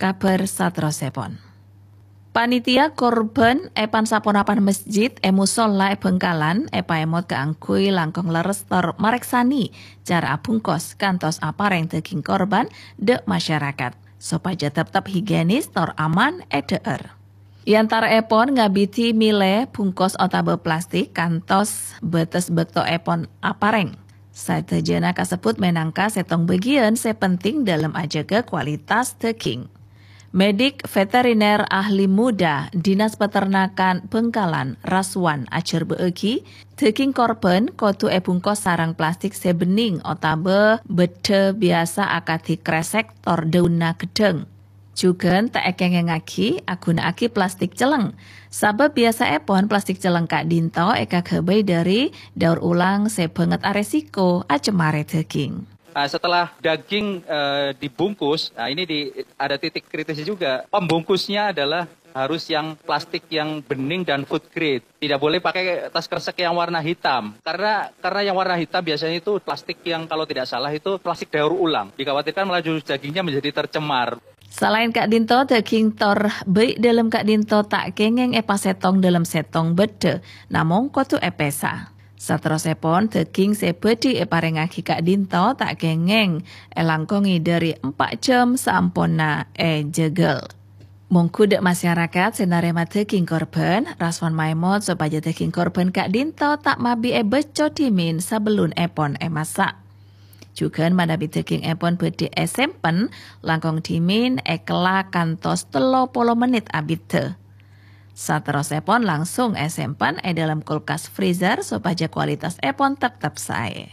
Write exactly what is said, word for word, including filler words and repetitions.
Kabhâr saterrossèpon. Panitia korban è pan-saponapan masjid è musolla è Bhângkalan èpaèmot kaangghuy langkong lerres tor marèksani cara abhungkos kantos aparèng dhâghing korban dhâ' masyarakat, sopajâ teptep higienis tor aman èdhâ'âr. È antara'èpon ngabidhi mèlè bhungkos otabâ plastik kantos bâtes bâktoèpon aparèng. Sadhâjâna kasebbhut mènangka sèttong bâgiyân sè penting dâlem ajâgâ kualitas dhâghing. Medik veteriner ahli muda Dinas Peternakan Bhângkalan, Raswan, ajhârbâ'âghi, dhâghing korban kodhu èbhungkos sareng plastik sè bhenning otabâ bâddhâ biyasa akadhi krèsèk tor dâunna ghedhâng. Jhughân ta' èkèngèngaghi aghuna'aghi plastik cellèng, sabâb biyasa'èpon plastik cellèng ka'dinto èkaghâbây dhâri daur ulang sè bângèt aresiko acemmarè dhâghing. Nah, setelah daging eh, dibungkus, nah ini di, ada titik kritis juga. Pembungkusnya adalah harus yang plastik yang bening dan food grade. Tidak boleh pakai tas kresek yang warna hitam karena karena yang warna hitam biasanya itu plastik yang kalau tidak salah itu plastik daur ulang. Dikhawatirkan malah justru dagingnya menjadi tercemar. Salaèn ka'dinto, dhâghing tor bâi' dâlem ka'dinto ta' kèngèng èpasèttong dâlem sèttong bâddhâ, namong kodhu èpèsa. Saterrossèpon, dhâghing sè bhâdhi èparèngaghi ka'dinto ta' kèngèng èlangkongè dhâri empa' jhâm saamponna èjhâghâl. Mongghu dhâ' masyarakat sè narèma dhâghing korban, Raswan maèmot sopajâ dhâghing korban ka'dinto ta' mabi èbâcco dhimèn sabellunèpon èmassa'. Jhughân manabi dhâghingèpon bhâdhi èsèmpen langkong dhimèn èkella kantos tello polo mennit abiddhâ. Saterrossèpon langsung èsèmpen è dâlem kulkas freezer sopajâ kualitasèpon teptep saè.